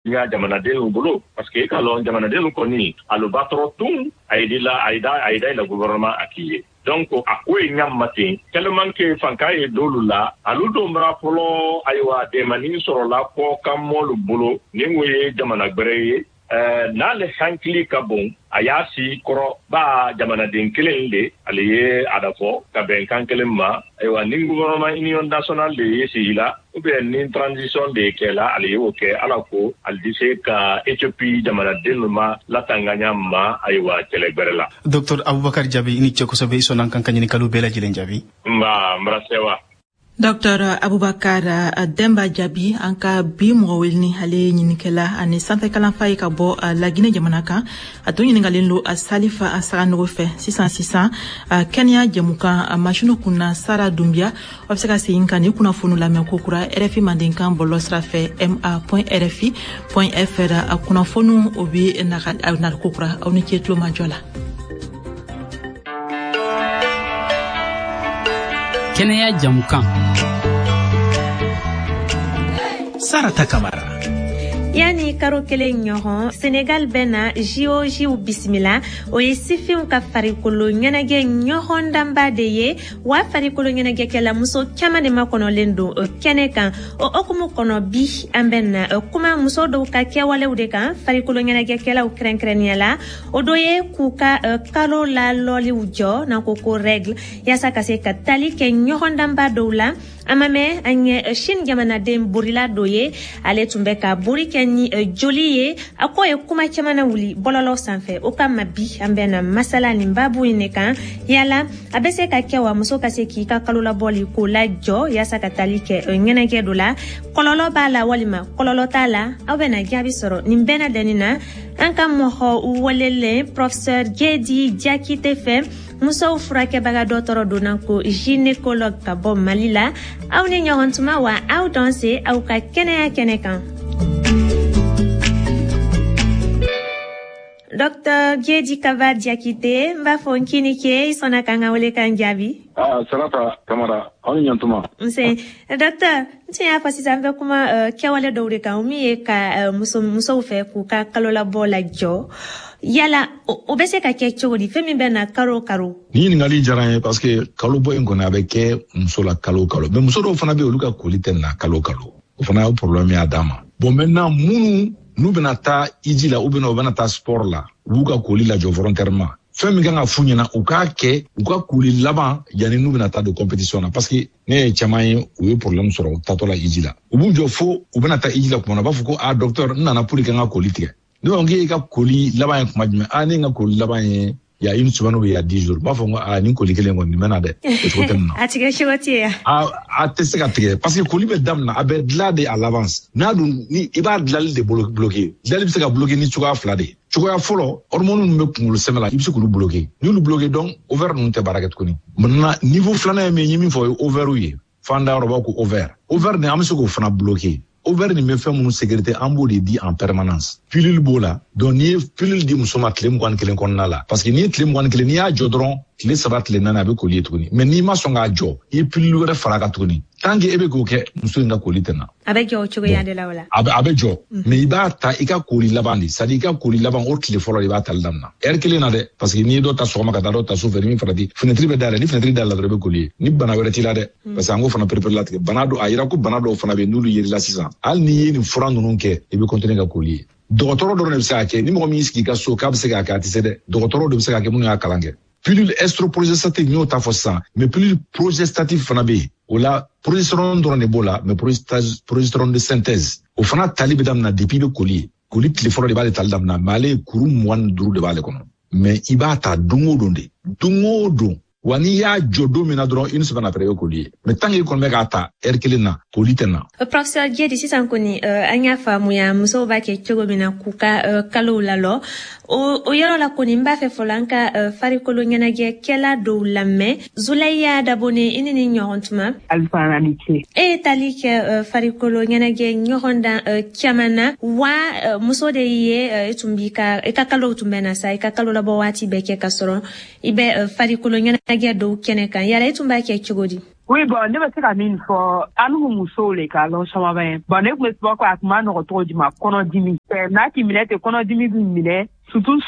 Ɲa jamanadenw bolo, parce que i k'a lɔn, jamanadenw kɔni, alu ba tɔrɔ tun a ye la a ye da a ye da la gouvernement a k'i ye. Donc a ko ye ɲa ma ten, tellement que fanka ye dolu la, alu don bara fɔlɔ, ayiwa, dɛmani sɔrɔla kɔ kan mɔlu bolo ni o ye jamana gbɛrɛ ye. N'ale hankili ka bon, a y'a si kɔrɔ ba jamanaden kelen de ale ye a da fɔ ka bɛn kan kelen ma. Ayiwa, ni gouvernement union nationale de ye sigi la, ou bien ni transition de kɛla, ale y'o kɛ ala ko ale di se ka Éthiopie jamanaden ma latanganya ma, ayiwa, kɛlɛ gbɛrɛ la. Docteur Abubakar Jabi, i ni ce kosɛbɛ, i sɔnna an kan ka ɲininkaliw bɛɛ lajɛlen jaabi. Nba, n bara sewa. Dr Abubakar Demba Jaabi, an ka bi mɔgɔ weleni, ale ye ɲinikɛla ani sanfɛ kalanfa ye ka bɔ Laginɛ jamana kan. A tun ɲiningalen lo Salifa Saganogo fɛ. Sisan sisan, kɛnɛya jɛmukan masiniw kunna, Sara Dunbiya, aw bɛ se ka segin ka nin kunnafoniw lamɛn kokura RFI Mandenkan bɔlɔlɔ sira fɛ, ma.rfi.fr. A kunnafoniw o bɛ na kokura. Aw ni ce tulomajɔ la. Kɛnɛya jamukan. Sarata Kamara. Yani karo kelen ɲɔgɔn, Senegal bɛna JOJw bisimila. O ye sifinw ka farikolo ɲɛnajɛ ɲɔgɔndanba de ye. Wa farikolo ɲɛnajɛkɛla muso caman de makɔnɔlen don o kɛnɛ kan. O hukumu kɔnɔ, bi an bɛna kuma muso dɔw ka kɛwalew de kan farikolo ɲɛnajɛkɛlaw kɛrɛnkɛrɛnnenya la. O dɔ ye k'u ka kalo lalɔliw jɔ, n'an ko ko règle, yaasa ka se ka tali kɛ ɲɔgɔndanba dɔw la. An ma mɛn, an ye Chine jamanaden bolila dɔ ye, ale tun bɛ ka bori kɛ ni joli ye. A ko ye kuma caman na wuli bɔlɔlɔ sanfɛ. O kama, bi an bɛna masala nin babu in de kan. Yala a bɛ se ka kɛ wa, muso ka se k'i ka kalolabɔli k'o lajɔ yaasa ka tali kɛ ɲɛnajɛ dɔ la? Kɔlɔlɔ b'a la walima kɔlɔlɔ t'a la? Aw bɛna jaabi sɔrɔ nin bɛɛ lajɛlen na an ka mɔgɔ welelen, professeur Jedi Jakite fɛ, musow furakɛbaga dɔgɔtɔrɔ donna ko gynécologue ka bɔ Mali la. Aw ni ɲɔgɔn tuma wa, aw dɔn se aw ka kɛnɛya kɛnɛ kan. Docteur Jedi Kaba Diakité, n b'a fɔ n k'i ni ce, i sɔnna k'an ka wele kan jaabi. Ah, Sarata Kamara, aw ni ɲantuma. Nse, docteur. N tun y'a fɔ sisan, an bɛ kuma kɛwale dɔw de kan, o min ye ka musow fɛ k'u ka kalolabɔ lajɔ. Yala o bɛ se ka kɛ cogo di, fɛn min bɛ na karo o karo? Ni ɲininkali diyara n ye, parce que kalo bɔ in kɔni, a bɛ kɛ muso la kalo o kalo, mais muso dɔw fana bɛ yen, olu ka koli tɛ na kalo o kalo. O fana ye problème y'a dan ma. Bon, maintenant, minnu n'u bɛna taa iji la ou bien u bɛna taa sport la, u b'u ka koli lajɔ volontairement. Fɛn min kan ka f'u ɲɛna, u k'a kɛ u ka koli laban yanni n'u bɛna taa don compétition na, parce que ne ye caman ye, u ye problème sɔrɔ u taatɔ la iji la. U b'u jɔ fo u bɛna taa iji la tuma na, u b'a fɔ ko ah docteur, n nana pour que n ka koli tigɛ. Ne ko k'e ka koli laban ye kuma jumɛn? Ah, ne ka koli laban ye il y a une semaine ou il y a 10 jours. N b'a fɔ ko ah, nin koli kelen kɔni, nin bɛ na dɛ, o cogo tɛ nin na. A tigɛ cogo tɛ yan. A tɛ se ka tigɛ, parce que koli bɛ daminɛ, a bɛ dilan de à l'avance. N'a dun ni i b'a dilali de bloquer, dilali bɛ se ka bloquer ni cogoya fila de ye. Cogoya fɔlɔ, hormone ninnu bɛ kunkolo sɛmɛ la, i bɛ se k'olu bloquer. N'i y'olu bloquer, donc ovaire ninnu tɛ baara kɛ tuguni. Maintenant, niveau filanan ye min ye, n ye min fɔ, o ye ovaire ye. Fan da yɔrɔ b'a ko ovaire. Ovaire nin, an bɛ se k'o fana bloquer. Ovaire nin bɛ fɛn minnu sécréter, an b'o de di en permanence. Pilule b'o la. Donc n'i ye pilule di muso ma tile 21 kɔnɔna la, parce que n'i ye tile 21, n'i y'a jɔ dɔrɔn, tile 3, tile 4, a bɛ koli ye tuguni. Mais n'i ma sɔn k'a jɔ, i ye pilule wɛrɛ fara a kan tuguni, tant que e bɛ k'o kɛ, muso in ka koli tɛ na. A bɛ jɔ o cogoya de la o la. A bɛ jɔ, mais i b'a ta i ka koli laban de, c'est à dire i ka koli laban o tile fɔlɔ de, i b'a tali daminɛ heure kelen na dɛ, parce que n'i ye dɔ ta sɔgɔma ka taa dɔ ta sufɛ, ni min farati, fenêtre bɛ dayɛlɛ. Ni fenêtre dayɛlɛ dɔrɔn, i bɛ koli ye. Ni bana wɛrɛ t'i la dɛ, parce que an k'o fana perepere latigɛ. Bana dɔ a yira ko bana dɔw fana bɛ yen, n'olu yer'i la sisan, hali n'i ye nin fura ninnu kɛ, i bɛ continuer ka koli ye. Dɔgɔtɔrɔ dɔrɔn de bɛ se k'a kɛ. Ni mɔgɔ min y'i sigi i ka so k'a bɛ se k'a kɛ, a tɛ se dɛ. Dɔgɔtɔrɔ de bɛ se k'a kɛ, minnu y'a kalan kɛ. Pilule estroprogestative, n y'o ta fɔ sisan, mais pilule progestative fana bɛ yen. O la, progestérone dɔrɔn de b'o la, mais progestérone de synthèse, o fana tali bɛ daminɛ depuis i bɛ koli ye. Koli tile fɔlɔ de b'ale tali daminɛ, mais ale ye kuru 25 de b'ale kɔnɔ. Mais i b'a ta don o don de, don o don. Wa n'i y'a jɔ don min na dɔrɔn, une semaine après, i bɛ koli ye. Mais tant que i kɔni bɛ k'a ta heure kelen na, koli tɛ na. Professeur Jedi, sisan kɔni an y'a faamuya musow b'a kɛ cogo min na k'u ka kalow lalɔ. O yɔrɔ la kɔni, n b'a fɛ fɔlɔ an ka farikolo ɲɛnajɛkɛla dɔw lamɛn. Zulaya Dabone, i ni ni ɲɔgɔn tuma. Alisa, ni ce. E ye tali kɛ farikolo ɲɛnajɛ ɲɔgɔndan caman na wa. Muso de ye, i tun b'i ka i ka kalow tun bɛ na sa, i ka kalo labɔ waati bɛɛ kɛ ka sɔrɔ i bɛ farikolo ɲɛnajɛ dɔw kɛnɛ kan. Yala i tun b'a kɛ cogo di? Oui, bon, ne bɛ se ka min fɔ, an musow le ka lɔn caman bɛ. Bon, ne tun bɛ sport kɛ, a tun ma nɔgɔ cogo jumɛn, kɔnɔdimi. N'a k'i minɛ ten, kɔnɔdimi b'i minɛ. Surtout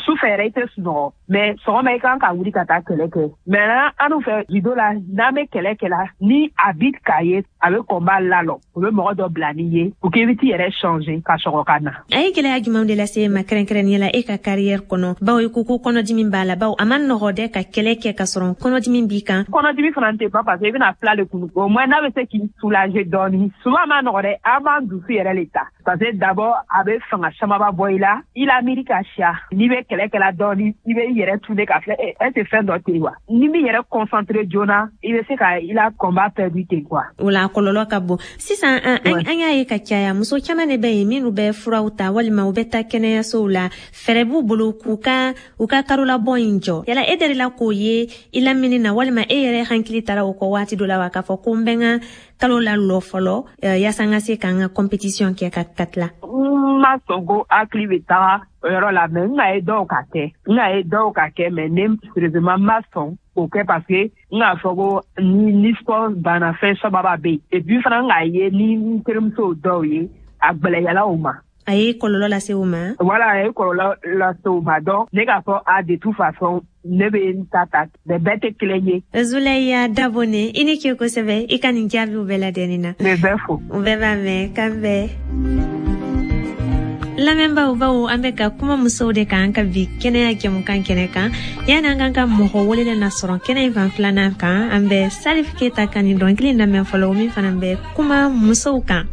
sufɛ yɛrɛ, i tɛ sunɔgɔ, mais sɔgɔma i kan ka wuli ka taa kɛlɛ kɛ. Mais an fɛ judo la, n'an bɛ kɛlɛ kɛ la, ni arbitre k'a ye a bɛ combat lalɔ, o bɛ mɔgɔ dɔ bila n'i ye pour que i bɛ t'i yɛrɛ changer ka sɔgɔ ka na. A ye gɛlɛya jumɛnw de lase e ma kɛrɛnkɛrɛnnenya la e ka carrière kɔnɔ, bawo i ko ko kɔnɔdimi b'a la, bawo a ma nɔgɔ dɛ ka kɛlɛ kɛ ka sɔrɔ kɔnɔdimi b'i kan? Kɔnɔdimi fana tɛ ban, parce que i bɛna fila de kunu. Au moins n'a bɛ se k'i soulager dɔɔni. Souvent a ma nɔgɔ dɛ, an b'an dusu yɛrɛ le ta, parce que d'abord a bɛ fanga camanba bɔ i la, i la miiri ka siya. N'i bɛ kɛlɛ kɛla dɔɔni, i bɛ i yɛrɛ tune ka filɛ, est ce fɛn dɔ tɛ yen wa? Ni m'i yɛrɛ concentré joona, i bɛ se ka i la combat perdu ten quoi. O la, a kɔlɔlɔ ka bon. Sisan an y'a ye ka caya, muso caman de bɛ yen minnu bɛ furaw ta walima u bɛ taa kɛnɛyasow la, fɛɛrɛ b'u bolo k'u ka u ka karolabɔ in jɔ. Yala e delila k'o ye i lamini na, walima e yɛrɛ hakili taara o kɔ waati dɔ la wa, k'a fɔ ko n bɛ n ka kalo la lɔ fɔlɔ yaasa n ka se k'an ka compétition kɛ ka tila? N ma sɔn ko hakili bɛ taga o yɔrɔ la, mais n ka ye dɔw ka kɛ, n ka ye dɔw ka kɛ, mais ne sérieusement n ma sɔn k'o kɛ, parce que n k'a fɔ ko ni sport banna, fɛn sababa bɛ yen. Et puis fana, n k'a ye ni n terimusow dɔw ye, a gwɛlɛyala o ma. A ye kɔlɔlɔ lase o ma. Voilà, a ye kɔlɔlɔ lase o ma. Donc ne k'a fɔ a, de toute façon ne bɛ n ta ta, mais bɛɛ tɛ kelen ye. Zuleya Dabone, i ni ce kosɛbɛ i ka nin jaabiw bɛɛ ladɛnni na. Ne bɛɛ fo. U bɛɛ b'a mɛn, k'an bɛn. Lamɛnbaaw, bawo an bɛ ka kuma musow de kan an ka bi kɛnɛya jɛmukan kɛnɛ kan, yani an kan ka mɔgɔ welelen na sɔrɔ kɛnɛ in fan filanan kan, an bɛ Salif Keta ka nin dɔnkili lamɛn fɔlɔ, min fana bɛ kuma musow kan.